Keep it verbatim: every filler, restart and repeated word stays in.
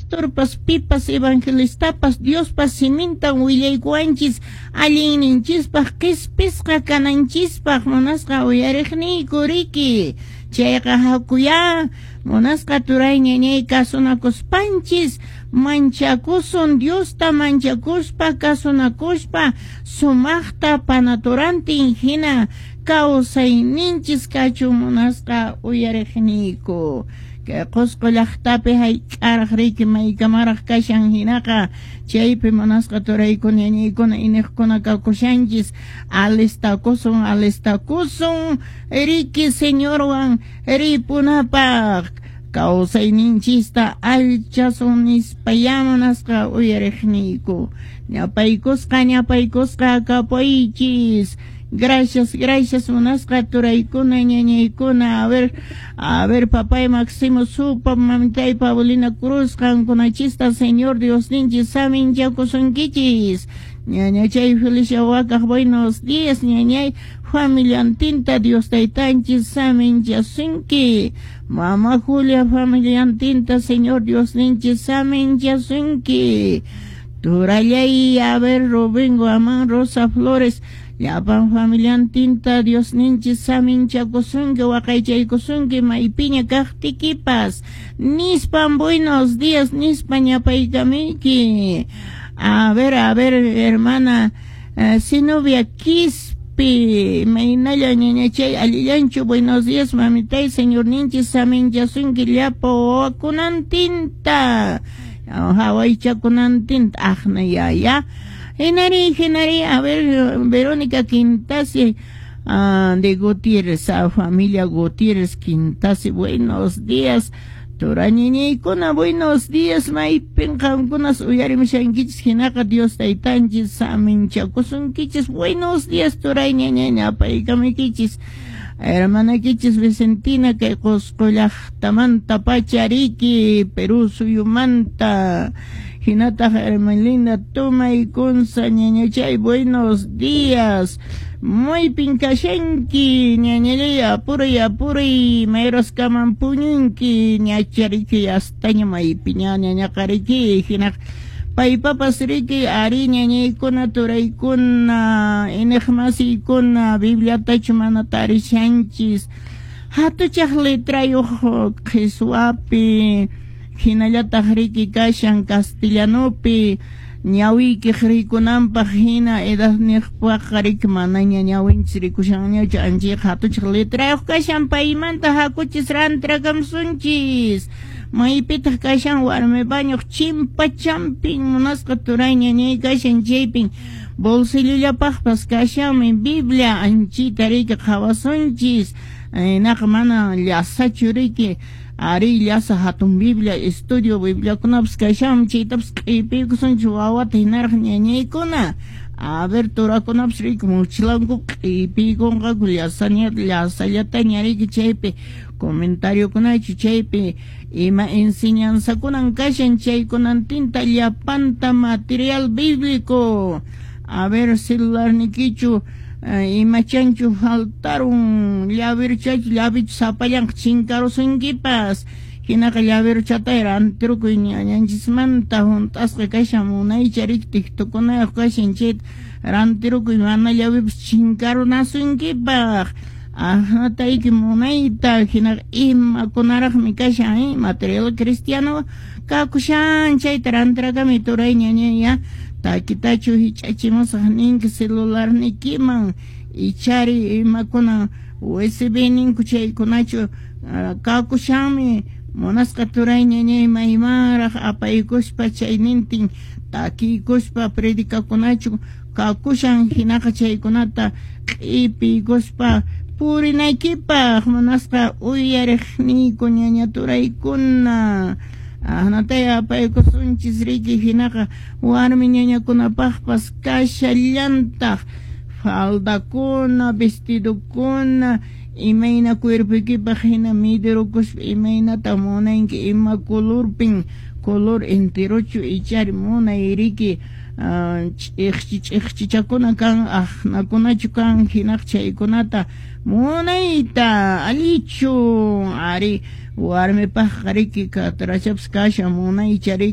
Pastorpas pipas evangelistapas Diospa simintan willaykuwanchis allinninchispaq qispisqa kananchispaq munasqa uyariqniyku riki. Chayqa hakuyá munasqa turay ñañay kasunakuspanchis manchakusun Diosta manchakuspa kasunakuspa sumaqta panaturantin hina kawsayninchis kachun munasqa uyariqniyku. Kay Qusqu llaqtapi hayk'araq riki maykamaraq kashan hinaqa chaypi munasqa turaykuna ñañaykuna iniqkuna kakushanchis alistakusun alistakusun riki Señorwan ripunapaq kawsayninchista allchasun nispayá munasqa uyariqniyku. Ñapaykusqa ñapaykusqa kapuychis. Gracias, gracias, munasqa turaykuna, ñañaykuna. A ver, a ver, papay Máximo Supa, mamitay Paulina Cruz, qankunachista, Señor Dios ninchis, saminchakusunkichis. Ñañachay Felicia Wakaj, buenos días, ñañay, familiantinta, Dios taytanchis, saminchasunki. Mama Julia, familiantinta, Señor Dios ninchis, saminchasunki. Turallay, a ver, Rubén Guamán, Rosa Flores, llapan familiantinta Dios ninchis saminchakusunki waqaychaykusunki maypiña kaqtikipas nispan buenos días nispa ñapaykamiyki. A ver, a ver, hermana uh, Sinovia Quispe, maynalla ñañachay allillanchu buenos días mamitay Señor ninchis saminchasunki llapa wawakunantinta hawaychakunantinta aqna yaya. Hinari, hinari, a ver, Verónica Quintasi uh, de Gutiérrez, a familia Gutiérrez Quintasi, buenos días. Turañiñaykuna, buenos días, maypin qamkunas uyarimushankichis hinaqa Dios taytanchis saminchakusunkichis. Buenos días, turayñañaña, apaykamuykichis. Hermanakichis Vicentina kay Qusqu llaqtamanta pachariki, Perú suyumanta. Hinataq Hermelinda Tumay Kunza ñañachay, buenos días. Maypin kashanki ñañallay, apuray apuray mayraskaman puñunki ñachariki astaña maypiña ñañaqariki hinaq paypapas riki ari ñañaykuna turaykuna iniqmasiykuna Bibliatachu mana tarishanchis hatuchaq letrayuq qhiswapi hinallataq riki kashan castellanopi ñawiykiq rikunanpaq hina edadniqpaqqa riki manaña ñawinchis rikushanñachu anchayqa hatuchaq letrayuq kashan paymanta hakuchis rantrakamsunchis. Maypitaq kashan warmi bañuq chimpachampin munasqa turay ñañay kashan chaypin bolsillullapaqpas kashanmi Biblia anchita riki qhawasunchis naqa mana llasachu riki ari llasa hatun Biblia estudio Bibliakunapas kashanmi chaytapas q'ipiykusunchis wawata hinaraq ñañaykuna. A ver, turakunapas riki mochilanku q'ipiykunqaku llasaña llasallataña riki chaypi comentariokunachu chaypi ima enseñanzakunan kashan chaykunantinta llapanta material bíblico. A ver, celularnikichu imachanchu faltarun llaveruchachu llavichu sapallanqa chinkarusunkipas hinaqa llaveruchatay rantirukuy ñañanchismanta hunt'asqa kashan munaycha riki tiktukunayuq kashan chayta rantirukuy mana llavipas chinkarunasunkipaq. Ahnatayki munayta hinaqa imakunaraqmi kashan eh? Material cristiano kakushan chayta rantirakami turay ñañaya takitachu hich'achimusaq ninki celularnikiman ichari imakuna U S B ninku chaykunachu uh, kakushanmi munasqa turay ñañay maymanraq apaykuspa chaynintin takiykuspa predicakunachu kakushan hinaqa chaykunata q'ipiykuspa purinaykipaq munasqa uyariqniyku ñaña turaykuna. Ahnatay apaykusunchis riki hinaqa warmi ñañakunapaqpas kashallantaq faldakuna vestidokuna imayna cuerpoykipaq hina midirukuspa imaynata munanki ima colorpin color enterochu ichari munay riki ch'iqchi ch'iqchichakuna kan aqnakunachu kan hinaq chaykunata munayta allichu ari warmipaqqa riki katrachapas kashan munaycha riki.